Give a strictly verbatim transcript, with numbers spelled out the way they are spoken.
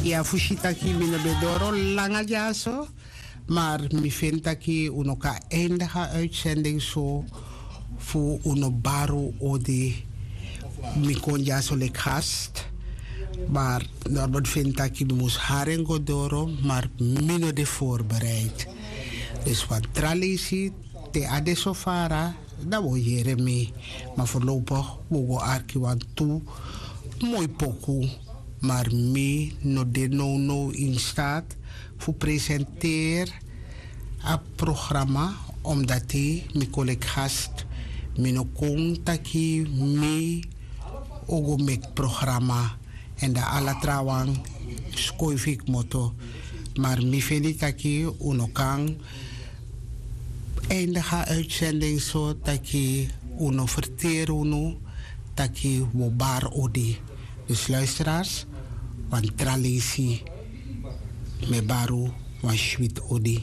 Ya fu si taki mi no ben doro langa dyaso, mar mi feni taki un no kan eindiga uitsending so fu un no bari un odi. Mi kon dyaso leki gast, mar normal feni taki mi mus hari en go doro, mar mi no de voorbereid. Dus wan tra leisi te a de so fara, dan wi o yere mi. Ma forlopig wi o go arki wantu moi poku, mar mi no de nownow in staat fu presenteri a programma, omdati mi kon leki gast. Mi no kon taki mi o go meki programma, èn dan ala trawan skoifi kmoto. Mar mi feni taki un no kan eindiga uitsending so taki un no ferteri unu taki wi o bari odi. Dus luisteraars, wan tra leisi, mi e bari un wan switi odi.